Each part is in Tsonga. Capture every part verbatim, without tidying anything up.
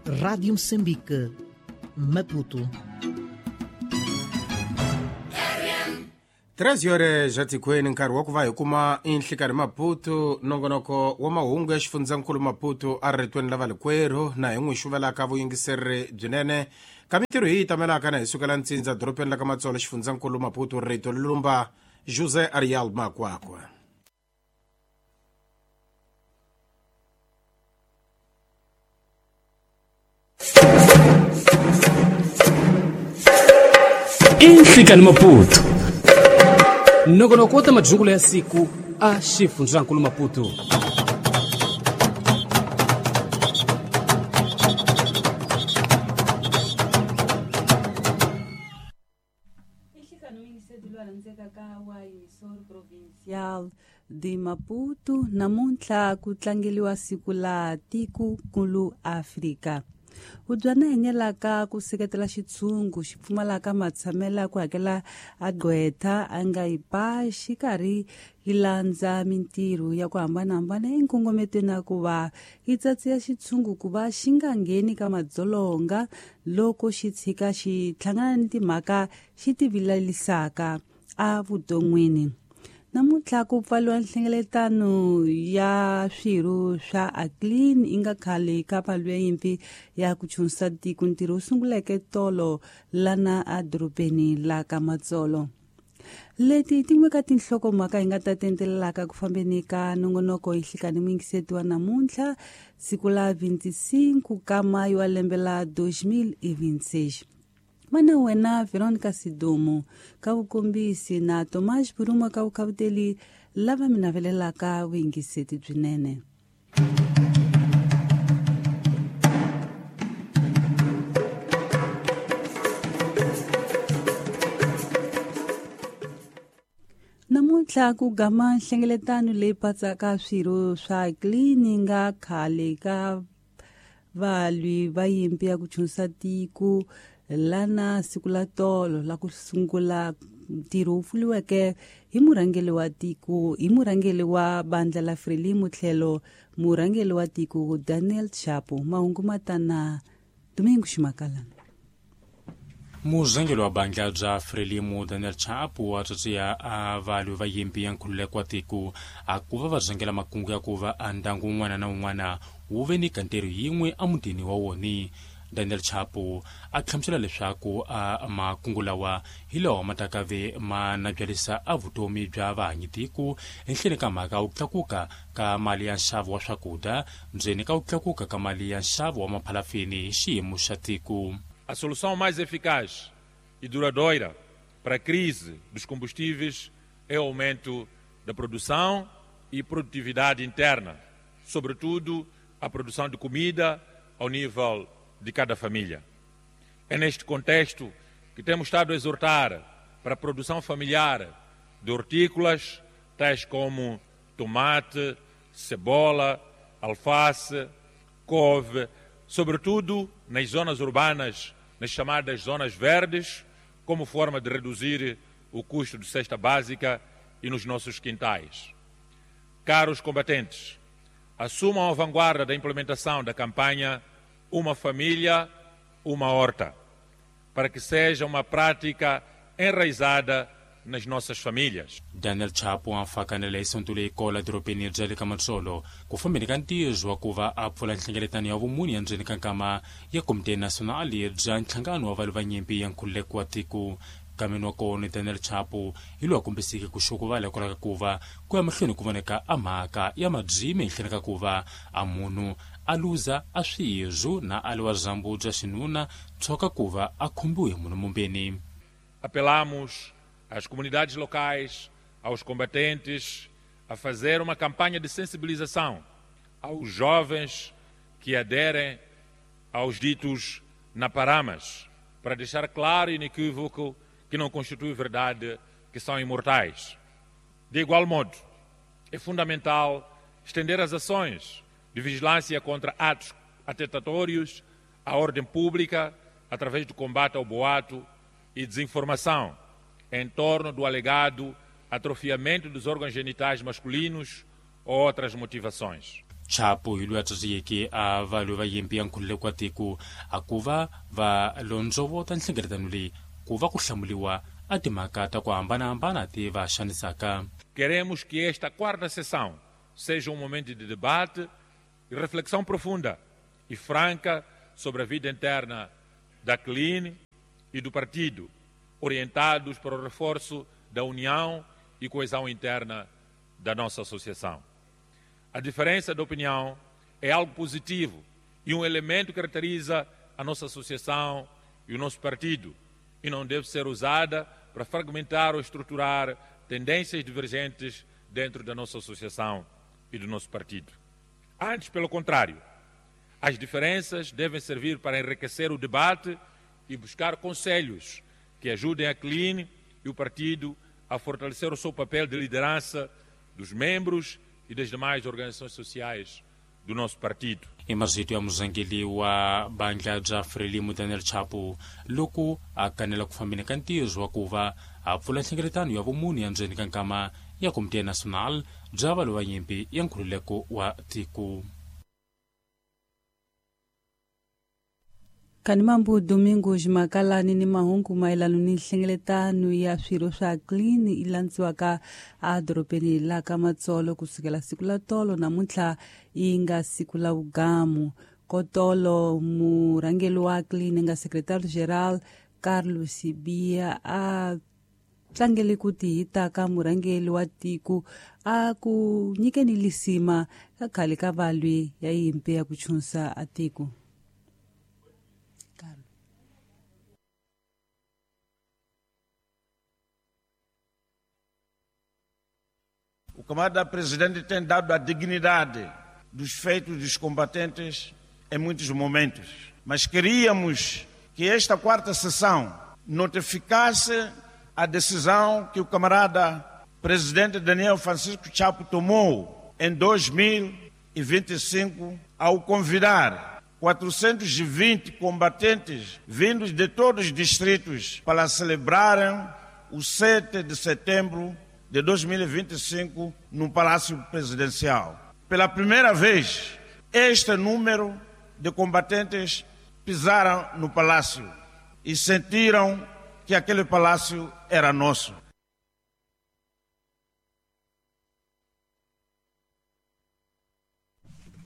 Rádio Moçambique, Maputo. treze horas atikweni nkarhi wa ku va hi kuma inhlikani Maputo nongonoko wa mahungu ya xifundzankulu Maputo a ritweni la valikwerhu na hi n'wi xuvelaka vuyingiseri byinene ka mintirho hi yi tamelaka na hi sukela ntsindza dorobeni la ka Matsolo xifundzankulu Maputo rito lulumba José Ariel Makwakwa. Inhlikani Maputo nongonoko wa ta majungulo ya siku a xifundzankulu Maputo. Provincial de Maputo namuntlha ku tlangeliwa siku la tiko-nkulu Afrika. Hubyana henyelaka ku seketela xitshungu xi pfumalaka matshamelo ku hakela a gqwetha a nga yi pa xikarhi yi landza mintirho ya ku hambanahambana enkongometweni ya ku va yi tsatsiya xitshungu ku va xi nga ngheni ka madzolonga loko xi tshika xi hlangana ni timhaka xi ti vilerisaka a vuton'wini. Namuntlha ku pfaliwa nhlengeletano ya swirho swa ACLEAN yi nga khale ka valwa yimpi ya ku chunisa tiko ntirho wu sunguleke tolo lana edorobeni la ka Matsolo. Leti tin'we ka tinhlokomhaka hi nga ta tendelelaka ku fambeni ka nongonoko hi nhlikani muyingiseti wa namuntlha siku la vinte e cinco ka mayo wa lembe la dois mil e vinte e seis. Mana wena Veronica Sidumo ka vukombisi na Tomás Buruma ka vukhavuteli lava mi navelelaka vuyingiseti byinene. Namuntlha ku gama nhlengeletano leyi patsaka swirho swa ACLEAN nga khale ka valwi va yimpi ya ku chunisa tiko lana siku la tolo la ku sungula ntirho wu pfuriweke hi murhangeri wa tiko hi murhangeri wa bandla la Frelimo tlhelo murhangeri wa tiko Daniel Chapo. Mahungu matana Domingo Ximakalana. Murhangeri wa bandla bya Frelimo Daniel Chapo wa tsotsia a valwi va yimpi ya nkhululeko wa tiko a ku va va rhangela makungu ya ku va a ndyangu wun'wana na wun'wana wu ve ni kantirho yin'we emutini wa wona. Daniel Chapo a hlamusela leswaku a makungu lawa hi lawa ma ta ka ve ma nabyalisa a vutomi bya vahanyi tiko ehenhleni ka mhaka ku tlakuka ka mali ya nxavo wa swakudya ndzeni ka ku tlakuka ka mali ya nxavo wa maphalafini hi xiyimo xa tiko. A solução mais eficaz e duradoura para a crise dos combustíveis é o aumento da produção e produtividade interna, sobretudo a produção de comida ao nível de cada família. É neste contexto que temos estado a exortar para a produção familiar de hortícolas, tais como tomate, cebola, alface, couve, sobretudo nas zonas urbanas, nas chamadas zonas verdes, como forma de reduzir o custo de cesta básica e nos nossos quintais. Caros combatentes, assumam a vanguarda da implementação da campanha Uma Família, Uma Horta, para que seja uma prática enraizada nas nossas famílias. Daniel Chapo a fakanele isonto leyi kola dorobeni bya le ka Matsolo ku fambeni ka ntirho wa ku va a pfula nhlengeletano ya vumuni ya ndzeni ka nkama ya Komite Nasionali bya nhlangano wa valwi va nyimpi ya nkhululeko wa tiko. Kameni wa kona Daniel Chapo hi loyi a kombiseke ku xukuvala hikwalaho ka ku va ku ya mahlweni ku voneka a mhaka ya mabyimi ehenhleni ka ku va a munhu a luza a swirho na a liwa dyambu bya xinuna tshoka ku va a khombiwe hi munhu mumbeni. Apelamos às comunidades locais, aos combatentes, a fazer uma campanha de sensibilização aos jovens que aderem aos ditos naparamas, para deixar claro e inequívoco que não constitui verdade que são imortais. De igual modo, é fundamental estender as ações de vigilância contra atos atentatórios à ordem pública através do combate ao boato e desinformação em torno do alegado atrofiamento dos órgãos genitais masculinos ou outras motivações. Chapo hi loyi a tswatiyeke a valwi va yimpi ya nkhululeko wa tiko a ku va va londzovota nhlengeletano leyi ku va ku hlamuliwa a timhaka ta ku hambanahambana ti va xanisaka. Queremos que esta quarta sessão seja um momento de debate e reflexão profunda e franca sobre a vida interna da C L I N e do partido, orientados para o reforço da união e coesão interna da nossa associação. A diferença de opinião é algo positivo e um elemento que caracteriza a nossa associação e o nosso partido e não deve ser usada para fragmentar ou estruturar tendências divergentes dentro da nossa associação e do nosso partido. Antes, pelo contrário, as diferenças devem servir para enriquecer o debate e buscar conselhos que ajudem a C L I N e o partido a fortalecer o seu papel de liderança dos membros e das demais organizações sociais do nosso partido. I marito ya murhangeri wa bandla bya Frelimo Daniel Chapo loko a kanela ku fambeni ka ntirho wa ku va a pfula nhlengeletano ya vumunhu ya ndzeni ka nkama ya Komite Nacional bya valwi va nyimpi ya nkhululeko wa tiko. Kanimambu Domingos Makalani ni mahungu mayelana ni nhlengeletano ya swirho swa C L I N yi landziwaka edorobeni la ka Matsolo kusukela siku la tolo namuntlha yi nga siku la vugamu. Kotolo murhangeri wa C L I N nga secretario geral Carlos Bia a tlangele ku tihita ka murhangeri wa tiko a ku nyikeni lisima ka khale ka valwi ya yimpi ya ku chunsa a tiko. O camarada presidente tem dado a dignidade dos feitos dos combatentes em muitos momentos. Mas queríamos que esta quarta sessão notificasse a decisão que o camarada presidente Daniel Francisco Chapo tomou em dois mil e vinte e cinco ao convidar quatrocentos e vinte combatentes vindos de todos os distritos para celebrarem o sete de setembro de dois mil e vinte e cinco no Palácio Presidencial. Pela primeira vez, este número de combatentes pisaram no palácio e sentiram que aquele palácio era nosso.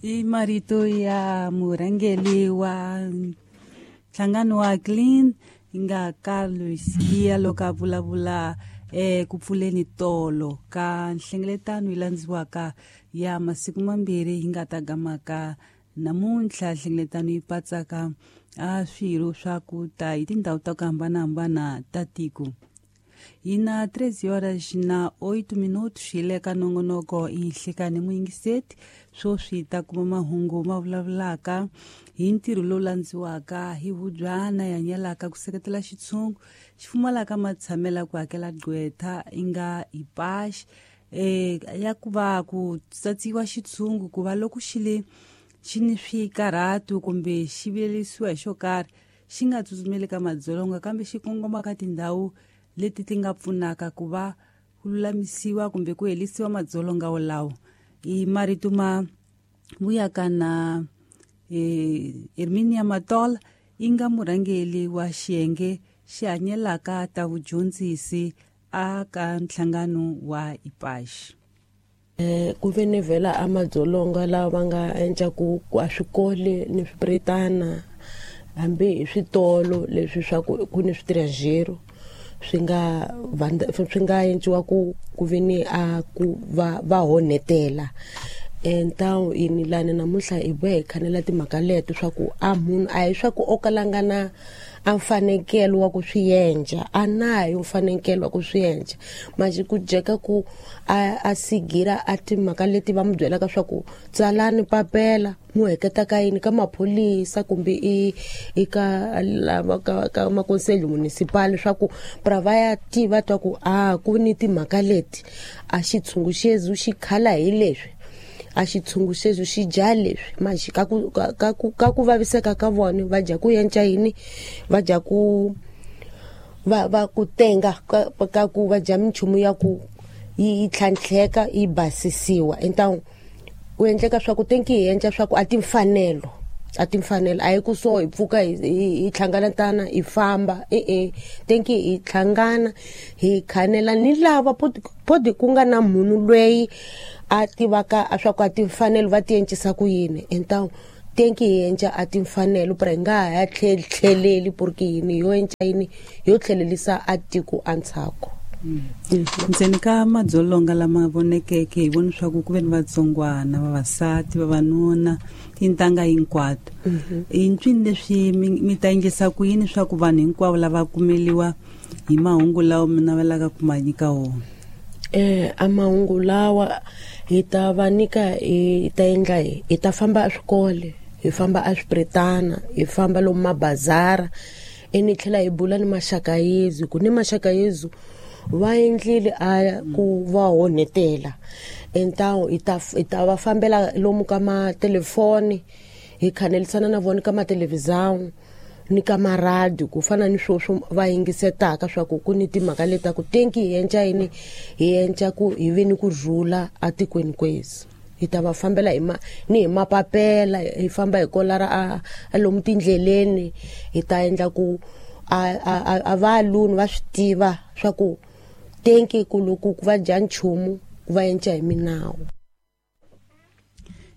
I marito ya murhangeri wa nhlangano wa C L I N nga Carlos Bia loko a vulavula eh ku pfuleni tolo ka nhlengeletano yi landziwaka ya masiku mambirhi yi nga ta gamaka namuntlha. Nhlengeletano yi patsaka a swirho swa ku ta hi tindhawu ta ku hambanahambana ta tiko. Yi na treze horas na oito minutos hi le ka nongonoko i Nhlikani muyingiseti. Swoswi ta kuma mahungu ma vulavulaka hi ntirho lowu landziwaka hi vubyana ya nyelaka ku seketela xitshungu xi pfumalaka matshamela ku hakela gqwetha yi nga ipaxi eh ya ku va ku tsatsiwa xitshungu ku va loko xi le xi ni swikarhatu kumbe xi vilelisiwa hi xo karhi xi nga tsutsumeli ka madzolonga kambe xi kongoma ka tindhawu leti ti nga pfunaka ku va ku lulamisiwa kumbe ku helisiwa madzolonga wolawo. I marito ma vuyaka na eh, Herminia Matola yi nga murhangeri wa xiyenge xi hanyelaka ta vudyondzisi a ka nhlangano wa IPASH. Eh ku ve ni vhela a madzolonga lawa va nga endla ku a swikole ni swipretana hambi hi switolo leswi swa ku ku ni switirhajero swi nga swi nga endliwa ku ku ve ni a ku va va honetela. Entawu yini lani namuntlha hi bohe hi khanela timhaka leto swa ku a munhu a hi swa ku o kalanga na a mfanekelo wa ku swi endla a nayo mfanekelo wa ku swi endla manje ku jeka ku a a sigira a timhaka leti va mu byelaka swa ku tsalani papela mu heketa ka yini ka maphorisa kumbe i i ka lava ka ka makonselho municipal swa ku pra va ya tiva twa ku a ku ni timhaka leti a xitshungu xezu xi khala hi leswi a xitshungu xexo xi dya leswi manje ka ku ka ku ka ku vaviseka ka vona va dya ku yenca yini va dya ku va va ku tenga ka, ka ku va dya minchumu ya ku yi tlhantlheka yi basisiwa entawu Ku endleka swa ku tenki hi endla swa ku a timfanelo a timfanelo a hi ku so hi pfuka hi hi hlanganatana hi famba e e tenki hi hlangana hi khanela ni lava podi ku nga na munhu loyi a tivaka a swa ku a timfanelo va ti encisa ku yini entawu tenki hi endla a timfanelo pra hi nga ha tlheleli porque yini yo endla yini yo tlhelelisa a tiko antsako. Ndzeni ka madzolonga lama vonekeke hi vona swa ku ku ve ni vatsongwana vavasati vavanuna tintangha hinkwato i ncwini leswi mi ta endlisa ku yini swa ku vanhu hinkwavo lava kumeliwa hi mahungu lawa mi navelaka ku ma nyika wona? Eh a mahungu lawa hi ta va nyika hi ta endla hi ta famba eswikole hi famba eswipretana hi famba lomu mabazara eni tlhela hi bula ni maxaka yezu ku ni maxaka yezu va endlile a ku va honetela entawu hi ta hi ta va fambela lomu ka matelefoni hi khanelisana na vona ka mathelevhizão ni ka maradio ku fana ni sweswo va yingisetaka swa ku ku ni timhaka leti ta ku tenki hi endla yini hi endla ku hi ve ni ku rhula atikweni kwezi hi ta va fambela hi ma ni hi mapapela hi famba hi kolara a a lomu tindleleni hi ta endla ku a a a va luni va swi tiva swa ku tenki ku loko ku va dya nchumu ku va endla hi minawu.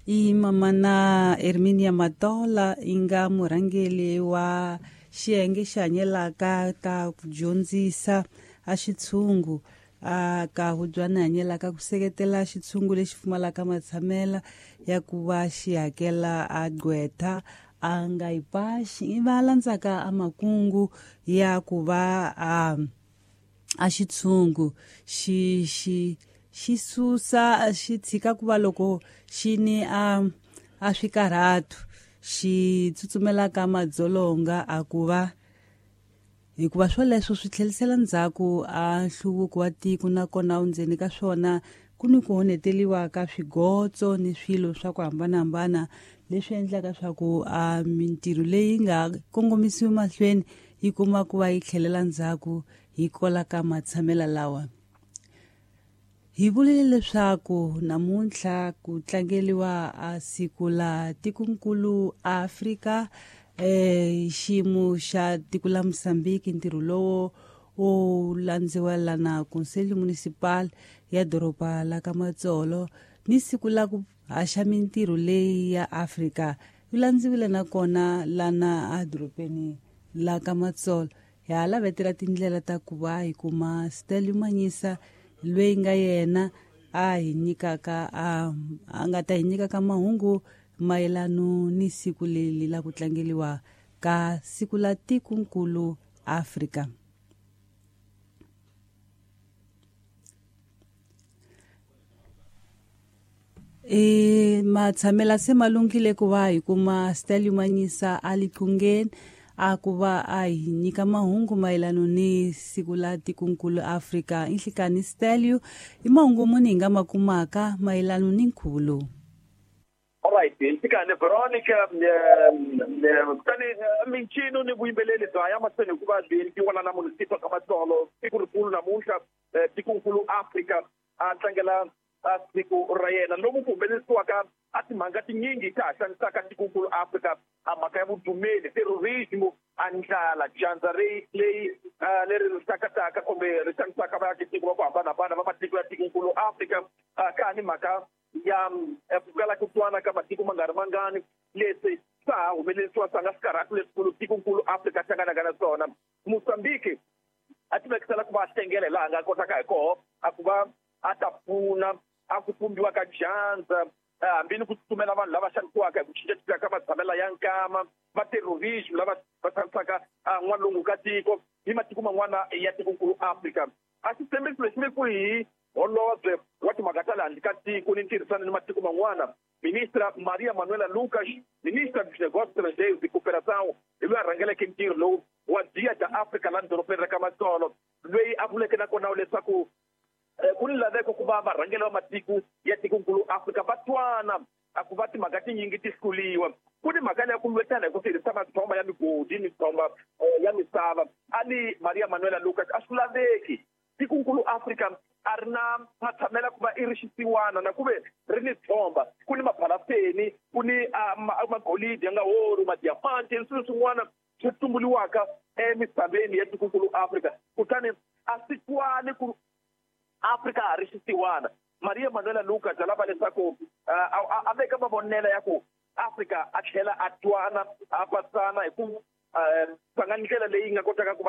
I mamana Herminia Matola i nga murhangeri wa xiyenge xi hanyelaka ta ku dyondzisa a xitshungu a ka hubyana hanyelaka ku seketela xitshungu lexi pfumalaka matshamela ya ku va xi hakela a gqwetha a nga yi paxi va landzaka a makungu ya ku va a a xitshungu xi xi xi susa xi tshika ku va loko xi ni a a swikarhatu xi tsutsumelaka madzolonga a ku va hikuva swoleswo swi tlhelisela ndzhaku a nhluvuko wa tiko nakona ndzeni ka swona ku ni ku honeteliwa ka swigotso ni swilo swa ku hambanahambana leswi endlaka swa ku a mintirho leyi nga kongomisiwi mahlweni yi kuma ku va yi tlhelela ndzhaku hi kola ka matshamela lawa. Hi vulile leswaku namuntlha ku tlangeliwa a siku la tikonkulu Afrika eh xiyimo xa tiko la Mozambique ntirho lowo wo landziwa lana Conselho Municipal ya doroba la ka Matsolo ni siku la ku haxa mintirho leyi ya Afrika yi landziwile nakona lana a dorobeni la ka Matsolo. Hi ha lavetela tindlela ta ku va hi kuma Stelio Manyisa loyi nga yena a hi nyikaka a a nga ta hi nyikaka mahungu mayelano ni siku leri la ku tlangeliwa ka siku la tikonkulu Afrika. E matshamela se malunghile ku va hi kuma Stelio Manyisa a liqungeni a ku va a hi nyika mahungu mayelano ni siku la tikonkulu Afrika. Inhlikani Stelio, i mahungu muni hi nga ma kumaka mayelano ni nkhuvo lowu? Alright, ntikane Veronica kutani mincino ni vuyimbeleri bya ya mahlweni hikuva byi endliwa la na munisipha ka Matsolo siku rikulu namuntlha tikonkulu Afrika a tlangela siku ra yena lomu ku humelerisiwaka a timhaka tinyingi ta ha xanisaka tikonkulu Afrika a mhaka ya vudumeli terrorism a ndlala dyandza leyi leri ri hlakataka kumbe ri xanisaka vaakitiko va ku hambanahambana va matiko ya tikonkulu Afrika ka ha ni mhaka ya ku kala ku twana ka matiko ma nga ri mangani leswi swa ha humelerisiwa swa nga swikarhatu leswikulu tikonkulu Afrika hlanganaka na swona. Mozambique a tivekisela ku va hlengela laha a nga kotaka hi koho a ku va a ta pfuna a ku pumbiwa ka dyandza hambi ni ku tsutsumela vanhu lava xanisiwaka hi ku cincacinca ka matshamela ya nkama va terrorism lava va xanisaka n'walungu ka tiko ni matiko man'wana ya tikonkulu Afrika. A xitshembiso lexi mi ku hi holobye wa timhaka ta le handle ka tiko ni ntirhisano ni matiko man'wana Ministra Maria Manuela Lucas, ministra dos Negócios Estrangeiros e Cooperação, hi loyi a rhangeleke ntirho lowu wa Dia da Africa laha dorobeni ra ka Matsolo loyi a vuleke nakona leswaku ku ni laveko ku va varhangeri va matiko ya tikonkulu Afrika va twana a ku va timhaka tinyingi ti hluriwa. Ku ni mhaka leya ku lwetana hi ku tirhisa matshomba ya migodi mitshomba ya misava a ni Maria Manuela Lucas a swi laveki tikonkulu Afrika a ri na matshamela ku va i ri xisiwana na ku ve ri ni tshomba ku ni phosphate ku ni magolidi ya nga woro madiamanti ni swilo swin'wana swi tumbuliwaka emisaveni ya tikonkulu Afrika. Kutani a swi twali ku Afrika ha ri xisiwana. Maria Manuela Lucas a lava leswaku a veka mavonelo ya ku Afrika a tlhela a twana a pasana hi ku tlanga ndlela leyi nga kotaka ku va